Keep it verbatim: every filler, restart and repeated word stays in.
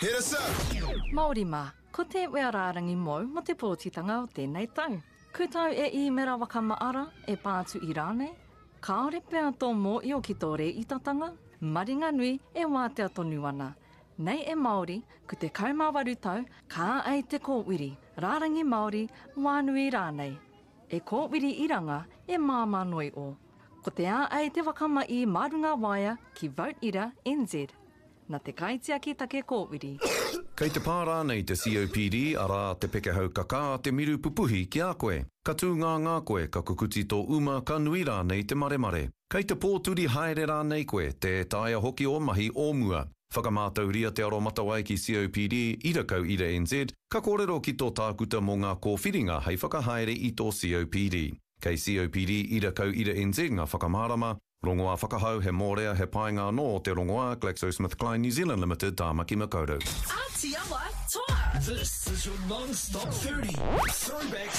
Hit us up! Māori mā, ko te wea rārangi mōu mō te pōtitanga o tēnei tau. Ku tau e īmera whakamaara, e pātu i rānei? Kāore pea tō mōio ki tō rēitatanga? Maringanui e wātea tonu ana. Nei e Māori, ku te kaumāwaru tau, kā ai te kōwiri, rārangi Māori, wānui rānei. E kōwiri iranga, e māmā noi o. Ko te a ai te wakama i marunga waea ki Vote Ira N Z. Na te kaitiaki take kōwiri. Kei te pā rānei te C O P D, arā te pekehau kakā, te miru pupuhi ki a koe. Ka tū ngā ngā koe, ka kukuti tō uma, ka nui rānei te maremare. Kei te pōturi haere rānei koe, tē taea hoki o mahi o mua. Whakamātauria te aromatawai ki C O P D, ira kau ira N Z, ka kōrero ki tō tākuta mō ngā kōwhiringa hei whakahaere i tō C O P D. Kei C O P D ira kau ira N Z ngā whakamārama, rongoā whakahau, he mōrea, he painga anō o te rongoā, GlaxoSmithKline New Zealand Limited, Tāmaki Makaurau. Atiawa Toa. This is your non-stop thirty. Throwback